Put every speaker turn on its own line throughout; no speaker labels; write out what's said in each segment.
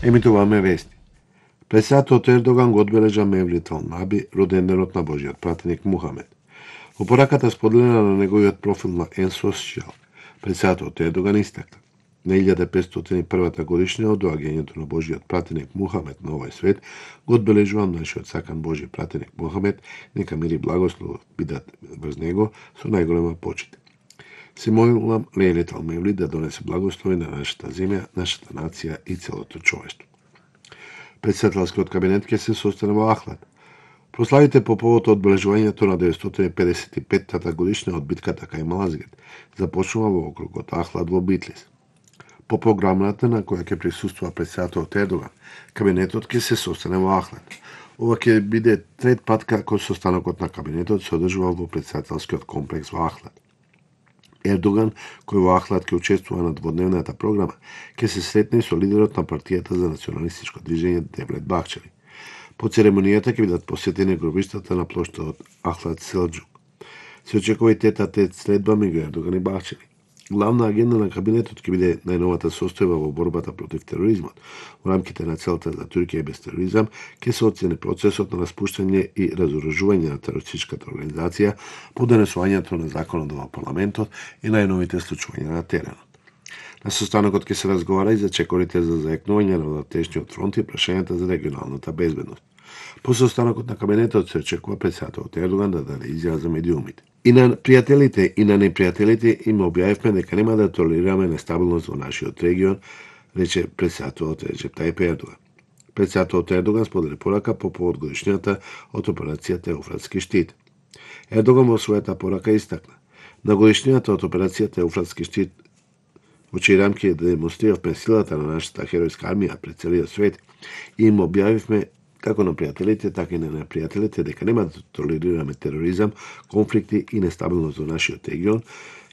Емитуваме вести. Председателот Ердоган го одбележа Мевлит Алнаби, роденденот на Божиот пратеник Мухамед. Во пораката споделена на неговиот профил на N-Social, председателот Ердоган истакна: на 1501 годишнина од доаѓањето на Божиот пратеник Мухамед на овој свет, го одбележувам нашиот сакан Божи пратеник Мухамед, нека мир и благослов бидат врз него со најголема почит. Се молам Лейлет Алмевли да донесе благослови на нашата земја, нашата нација и целото човештво. Председателскиот кабинет ќе се состане во Ахлад. Прославите по повод одбележувањето на 955-та годишнина од битката кај Малазгет започнува во округот Ахлад во Битлис. По програмата на која ќе присуствува председателот Ердоган, кабинетот ќе се состане во Ахлад. Ова ќе биде трет пат како состанокот на кабинетот се одржува во председателскиот комплекс во Ахлад. Ердоган, кој во Ахлад ќе учествува на дводневната програма, ќе се сретне со лидерот на партијата за националистичко движење Девлет Бахчели. По церемонијата ќе бидат посетени гробиштата на плоштадот Ахлад Селџук. Се очекува и тет-а-тет следба меѓу Ердоган и Бахчели. Главна агенда на кабинетот ќе биде најновата состојба во борбата против тероризмот. Во рамките на целта за Туркија без тероризам ќе се оцени процесот на распуштање и разоружување на терористичката организација по донесувањето на законот во парламентот и најновите случувања на теренот. На состанокот ќе се разговара и за чекорите за заекнување на внатрешниот фронт и прашањата за регионалната безбедност. По состанокот на кабинетот се очекува председателот Ердоган да даде изјава за медиумите. И на пријателите и на непријателите им објавивме дека нема да толерираме нестабилност во нашиот регион, рече председателот Реджеп Тајип Ердоган. Председателот Ердоган сподели порака по повод годишнината од операцијата Еуфратски штит. Ердоган во својата порака истакна: на годишнината од операцијата Еуфратски штит, во чиј рамки демонстриравме силата на нашата херојска армија пред целиот свет, и им објавивме како на пријателите, така и на непријателите дека нема да толерираме тероризам, конфликти и нестабилност во нашиот регион,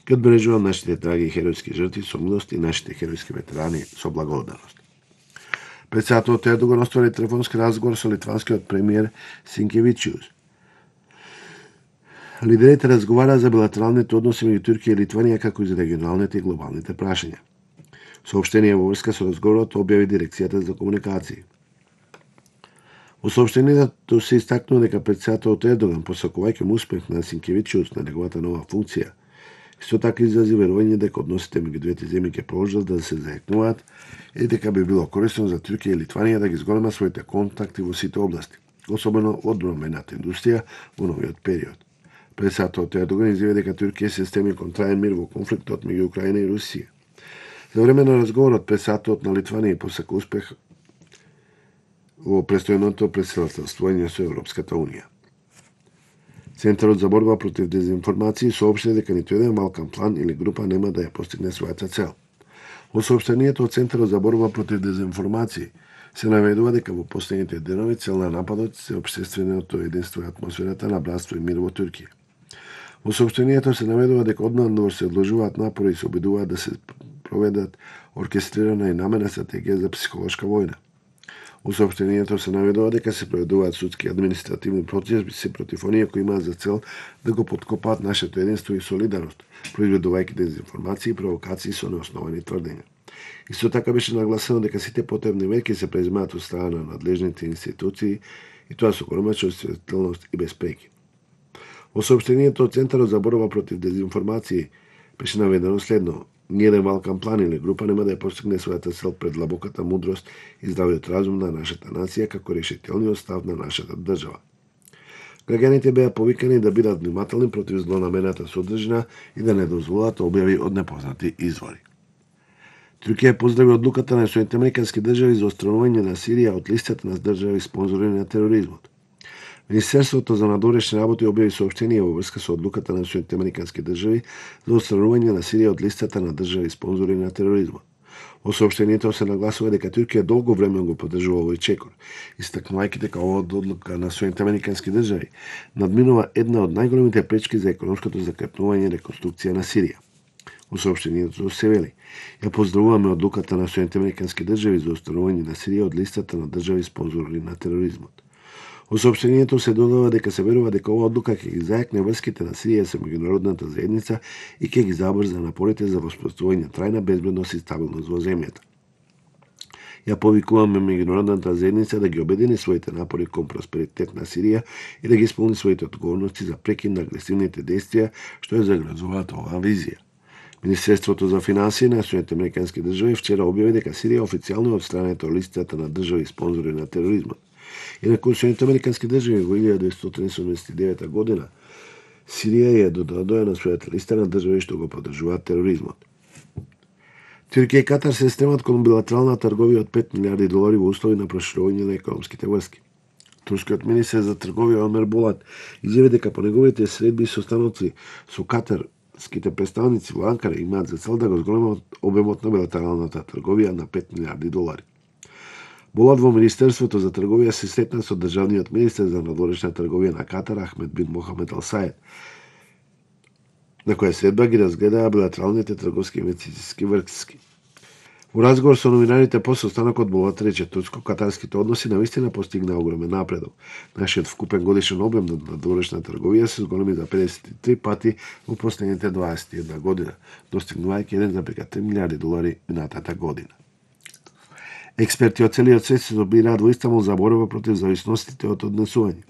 ќе одбележувам нашите драги херојски жртви со милост и нашите херојски ветерани со благодарност. Председателот Ердоган оствари телефонски разговор со литванскиот премиер Синкевичиус. Лидерите разговараа за билатералните односи меѓу Туркија и Литванија, како и за регионалните и глобалните прашања. Соопштение во врска со разговорот објави дирекцијата за комуникации. Во соопштението се истакнува дека председателот Ердоган, посакувајќи му успех на Синкевичиус на неговата нова функција, исто така изрази верување дека односите меѓу двете земји ќе продолжат да се заекнуваат и дека би било корисно за Туркија и Литванија да ги зголема своите контакти во сите области, особено во одбранбената индустрија во новиот период. Председателот Ердоган изјави дека Туркија се стреми кон траен мир во конфликтот меѓу Украина и Русија. За време на разговорот председателот на Литванија посака успех во престојното претседателствување со Европската Унија. Центарот за борба против дезинформации соопшти дека ниту еден Балкан план или група нема да ја постигне својата цел. Во соопштението од Центарот за борба против дезинформации се наведува дека во последните денови цел на нападот се општественото единство и атмосферата на братство и мир во Туркија. Во соопштението се наведува дека однадвор се одложуваат напори и се обидуваат да се проведат оркестрирана и намерна стратегија за психолошка војна. Во соопштението се наведува дека се проведуваат судски и административни процеси против оние кои имаат за цел да го поткопаат нашето единство и солидарност, произведувајќи дезинформации и провокации со неосновани тврдења. Исто така беше нагласено дека сите потребни мерки се преземаат од страна на надлежните институции и тоа со голема чувствителност и без преки. Во соопштението од Центарот за борба против дезинформации беше наведено следно: ниеден Балкан план или група нема да ја постигне својата цел пред длабоката мудрост и здравиот разум на нашата нација како решителниот став на нашата држава. Граѓаните беа повикани да бидат внимателни против злонамерната содржина и да не дозволат објави од непознати извори. Туркија поздрави одлуката на Соединетите Американски држави за отстранување на Сирија од листата на држави спонзори на тероризмот. Министерството за надворешни работи објави соопштение во врска со одлуката на Соединетите Американски држави за отстранување на Сирија од листата на држави спонзори на тероризмот. Во соопштението се нагласува дека Туркија долго време го поддржува овој чекор, истакнувајќи дека оваа одлука на Соединетите Американски држави надминува една од најголемите пречки за економското закрепнување и реконструкција на Сирија. Во соопштението се вели: ја поздравуваме одлуката на Соединетите Американски држави за отстранување на Сирија од листата на држави спонзори на тероризмот. Во соопштението се додава дека се верува дека оваа одлука ќе ги заекне врските на Сирија со меѓународната заедница и ќе ги забрза напорите за воспоставување трајна безбедност и стабилност во земјата. Ја повикуваме меѓународната заедница да ги обедини своите напори кон просперитет на Сирија и да ги исполни своите одговорности за прекин на агресивните действија што ја загрозуваат оваа визија. Министерството за финансии на Соединетите американски држави вчера објави дека Сирија официјално е одстранета од листата на држави спонзори на тероризмот. Инаку Соединетите американски држави во 1979 година Сирија е додадоја на својата листа на држави што го поддржуваат тероризмот. Туркија и Катар се стремат кон билатерална трговија од $5 милиарди во услови на проширување на економските врски. Турскиот министер за трговија Омер Болат изјави дека по неговите средби со станоци со катарските представници во Анкара имаат за цел да го зголемат обемот на билатералната трговија на $5 милиарди. Болат во Министерството за трговија се сретна со државниот министер за надворешна трговија на Катар Ахмед бин Мохамед Ал Саед, на која средба ги разгледаа билатералните трговски инвестициски врски. Во разговор со новинарите по состанокот Болат рече турско-катарските односи навистина постигнаа огромен напредок. Нашиот вкупен годишен обем на надворешна трговија се зголеми за 53 пати во последните 21 година, достигнувајќи $1,3 милиарди минатата година. Експерти од целиот свет се собираат во Истанбул за борба против зависностите од однесување.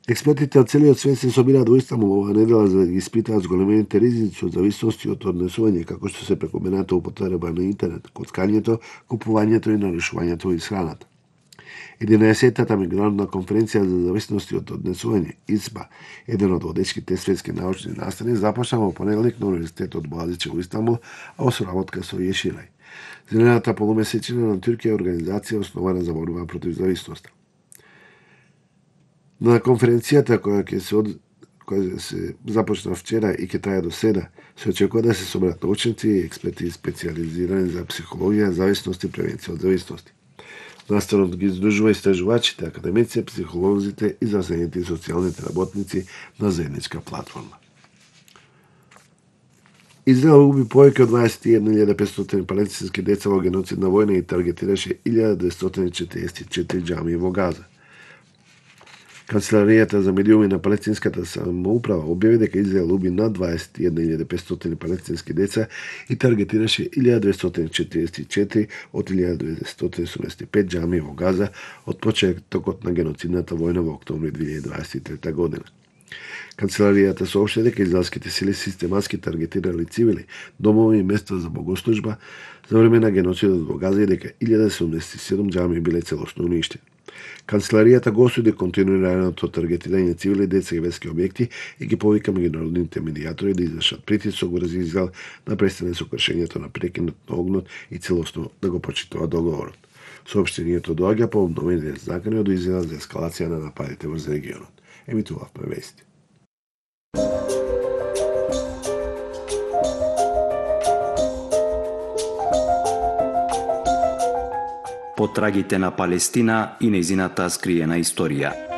Експертите од целиот свет се собираат во Истанбул оваа недела за да ги испитаат зголемените ризици од зависности од однесување, како што се прекомерната употреба на интернет, коцкањето, купувањето и нарушувањето во исхраната. 11-та меѓународна конференција за зависности од однесување, ИЦБА, еден од водечките светски научни настани, започна во понеделник на Универзитетот Боğaziçi во Истанбул, а во соработка со Еширај. Зелената полумесечина на Туркија е организација основана за борба против зависноста. На конференцијата која се започна вчера и ќе трае до седа, се очекува да се соберат научници и експерти специализирани за психологија, зависност и превенција од зависности. Настанот ги издружува истражувачите, академици, психолозите и здравствените и социјалните работници на заедничка платформа. Израел уби повеќе од 21.500 палестински деца во геноцидна војна и таргетираше 1244 џамии во Газа. Канцеларијата за медиуми на палестинската самоуправа објави дека Израел уби над 21.500 палестински деца и таргетираше 1244 од 1285 џамии во Газа од почетокот на геноцидната војна во октомври 2023 година. Канцеларијата соопшти дека израелските сили систематски таргетирали цивили, домови и места за богослужба за време на геноцидот во Газа и дека 1077 џамии биле целосно уништени. Канцеларијата го осуди континуираното таргетирање цивили, деца и верски објекти и ги повика меѓународните медијатори да извршат притисок врз Израел да престане со кршењето на прекинот на огнот и целосно да го почитува договорот. Соопштението доаѓа по обновените закани од Израел за ескалација на нападите врз регионот. Емитувавме вести.
Потрагите на Палестина и нејзината скриена историја.